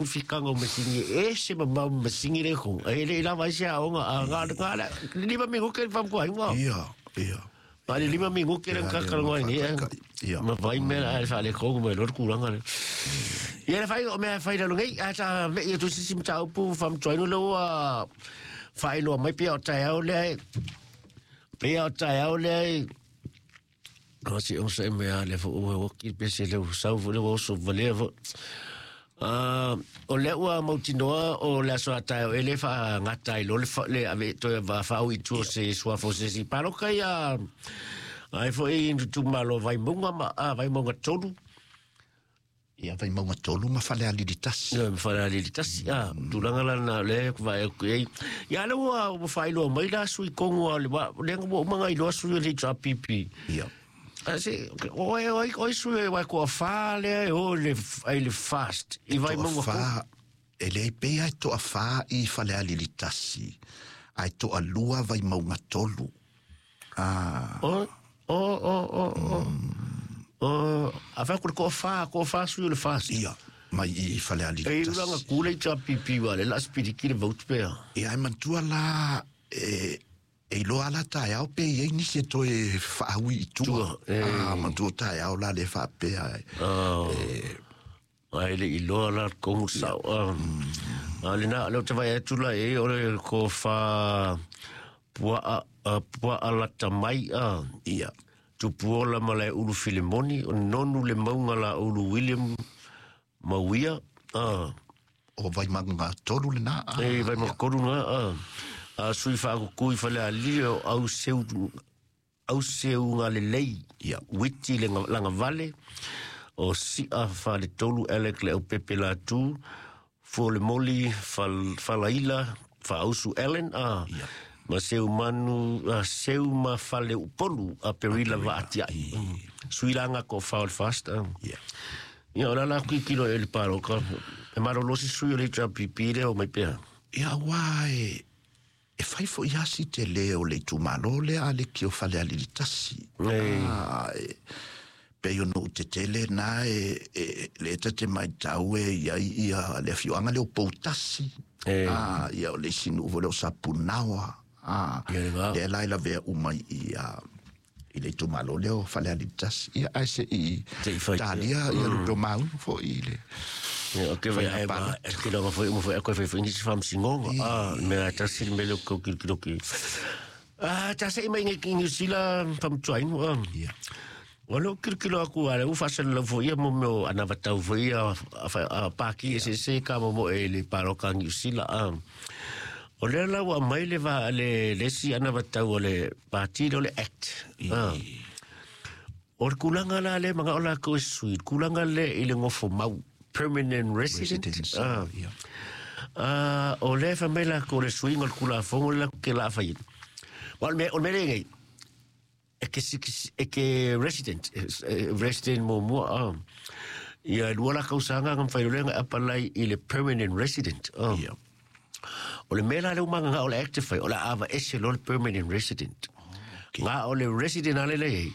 Fikanga o masini e ese mamao ma masini le ko. E le lava ai se aoga a nga nga le 5 minuke le fam ko ai wa. Ia, ia. A le 5 minuke le ka ka ngoi ni. Ia. Ma vai me a fa le ko me lo kulanga le. Ia le fai o mea fai lalo nei a ta me ia tu sisi mta upu fam join lo a fai lo mai pia o taeao le pia o taeao le o si o se mea le fo o o ki pe se le sau fo le o so vale fo. O le ua mautinoa o le aso a taeao e le faagata ai loa le le ave toe faaui i tua o se suafa o se isi paloka ia ai foi i itumalo Vaimauga ma Vaimauga 3. Ia Vaimauga 3 ma Falealili 1. Ia ma Falealili 1. A, tulaga la lena o lea e vaai atu i ai. Ia lea ua faailoa mai la sui Kongo a le lea ua uma ona iloa sui o le HRPP. Ia. A se, o e oi oi sui e wai koa whā lea e o le, ai le fast. I Vaimauga Toa whā, e leai pea e toa whā i Falealili 1, ai toa 2 Vaimauga 3. Ah. O, o, o, o, o. O, a whai ko koa whā, koa whā sui o le fast. Ia, mai i Falealili E uranga kule i HRPP wa le la spiriki le vote pea. Ia, e mantua la, e, e iloa ala taeao pe i ai nisi e toe whaaui i tua. Tua, e. Ah, mantua taeao la le whaapea. E, Oh. e, Ai le iloa la kongu sao. A le na le o te vai atu la e o le ko whā pua pua alata mai a. Ia. Tupuola ma le ulu Filimoni, o nonu le maunga la ulu William Mauia. A. O Vaimauga 3 le na. E Vaimauga 3 na. A. A sui whaakukui whale a li o au seu, au seu ngā le lei. Ia. Witi le langa vale. O sia whale tolu elek le au pepe la tu. Fo le moli whalaila whaausu Ellen. A. Ia. Ma seu manu, a seu ma whale upolu a perila va atia. Sui langa ko whaol fast. A. Ia. Ia, o la la kui kilo e le pāroka. E maro losi sui o le HRPP le o mai pea. Ia, wā e, e whai fo i asi te leo le itumalo le a le ki o Falealili 1. Ei. Ah, e, pe o no te tele nā e, e, le eta te mai tau e ia ia le whioanga le o Poutasi. Ei. Ah, ia o le sinu o le o Sapunaoa. Ah, Ia le ngā. le lai la vea umai i a i le itumalo le o Falealili 1. Ia ai se i Te i whai. talia ia le peo maunu fo i le. Ia, o ke vai ai ma, e ke longa foi uma foi a koe fai foi nisi whamsingonga. Ah, mea tasi le mele o kau kilo kilo ki. Ah, tasi i mai ngai ki New Zealand whamtuainu. Ah. Ia. O leo kilo kilo aku ale, u whasana lau foi ia mo meo anavatau foi ia a pāki e se se ka mo mo e le paroka New Zealand. Ah. O lea lau a mai le va le lesi anavatau o le pāti o le Act. Ah. O le kulanga la le manga o la ko e sui, kulanga le i le ngofo mau, permanent resident. Residence, Ah. ia. Ah, o le fa mai la ko le sui ngol kula fongo la ke la fa yin. Wa me o me le ngai. E ke si e ke resident, resident mo mo ah. Ia lua la kausanga ngam fai le ngai apalai i le permanent resident. Ah. Ia. O le mea la le umanga ngā o le active fai, o le ava ese lo le permanent resident. Okay. Ngā o le resident ale le ei,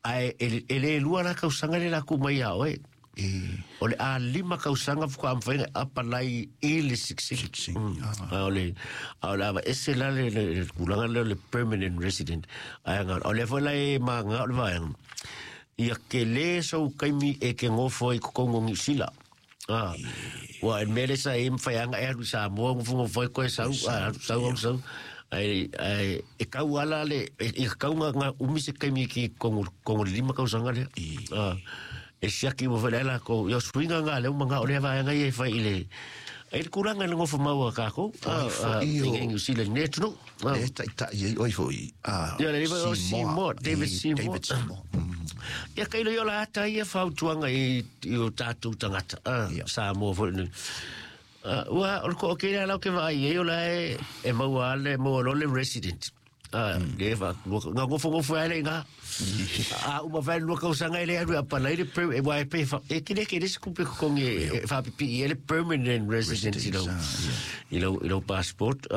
ai e le lua la kausanga le la ku mai a oe. E, O le a lima kausanga fuka amwhainga apalai i le siksiki. Siksiki, A o le, a o le ava ese la le, le, le kulanga le, le permanent resident. Ai ngā, o le fo la e mā ngā o le vaenga. Ia ke le sau kaimi e ke ngofo i kokongo ngi sila. Ah, ua e mele sa e mwhaianga e aru sa moa ngofu ngofo i koe sau, ah, sau, au sau. Ai, ai, e kau ala le, e kau ngā ngā umi se kaimi ki kongo, kongo lima kausanga le. Ah, e siaki mo whai la ko, ia suinga ngā leo mga o le vaenga i e whai i le, ai le kuranga le ngofo maua kako, ah, ah, i o- i New Zealand ne tunu. Ah. E tai tai i oi foi. Ah, Ia, le riva o Seymour, David Seymour. David Seymour. Ia kailo i o la ata ia whautuanga i, i o tātou tangata. Ah, Ia. Samoa foi ni. Ah, ua, o le ko o kēlā lau ke vaai e o la e, e maua ale, maua lo le resident. Ah, le wha, ngā ngofo ngofo ale ngā. A uma whai lua kausanga e le aru a palai le per, e wai pe wha, e kine ke resi kupe kongi e whapipi i ele permanent resident i lau, Residence, i lau, i lau passport.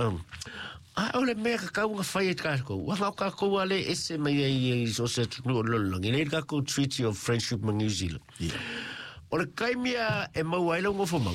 A o le mea ka kaunga whai e kākou. Wa ngau kākou ale ese mai ai i so se tunu o lololangi. Nei kākou Treaty of Friendship ma New Zealand. Ia. O le kaimi a e maua ai lau gofomau.